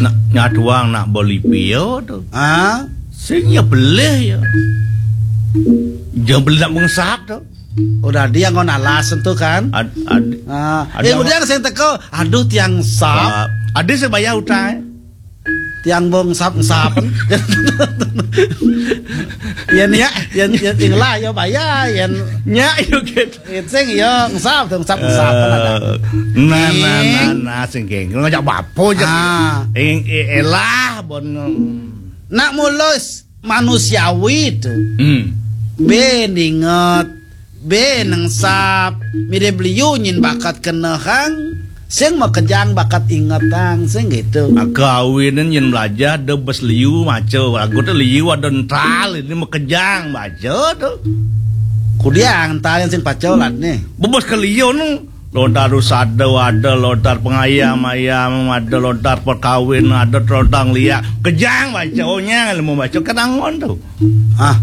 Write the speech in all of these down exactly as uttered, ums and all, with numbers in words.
Nak nyatuang nak beli pia tu. Ah, sing ya beli ya. Jangan beli nak mengsap tu. Udah dia ngon alas tu kan. Ad, ad, ah, ada eh, udah sing teko, aduh tiang sap. Ada saya bayar utang. Tiang bong sap sap. Yen ya, yen yen tinggal ya bayar, yen nya yo gitu. Sing ya ngesap, ngesap, ngesap kan ada. Nah, nah, nah, nah, sing geng ngajak bapo je. Ah. Ing, e-, elah bon. Nak mulus manusiawi tu. Hmm. Be ninget, be nengsap, mirip liu nyin bakat kenehang, sing makejang bakat ingetang, sing gitu. Maka awinan nyin belajar de bes liu maca, lagu tu liu ada ental, ini makejang baca tu. Kudiang ental yang sing paca ulat ni. Bebas ke liu nu. Lontar usada ada, lontar pengayam-ayam ada, lontar perkawin ada, lontar liak. Kejang baca, onyang ilmu baca, kan anggon tu. Ah.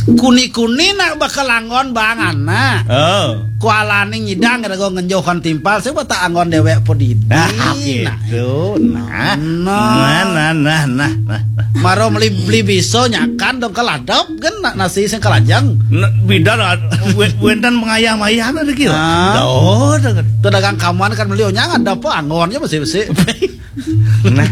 Kuni-kuni nak bakal anggon bang anak. Oh. Kualani nyidang kira gua ngenjohan timpal, saya tak anggon dewek podidi. Ah, nah. Gitu. Nah. Nah. Nah, nah, nah, nah, nah. Maro meli, beli biso nyakan dong keladap kan na-, nasi sing kelajang. Nah, bida lah, we-, wenten mengayam-ayam ada kira. Ah. Dah, dah. Tuh dagang kamuan kan beli onyang ada apa anggonnya besi-besi. Nah.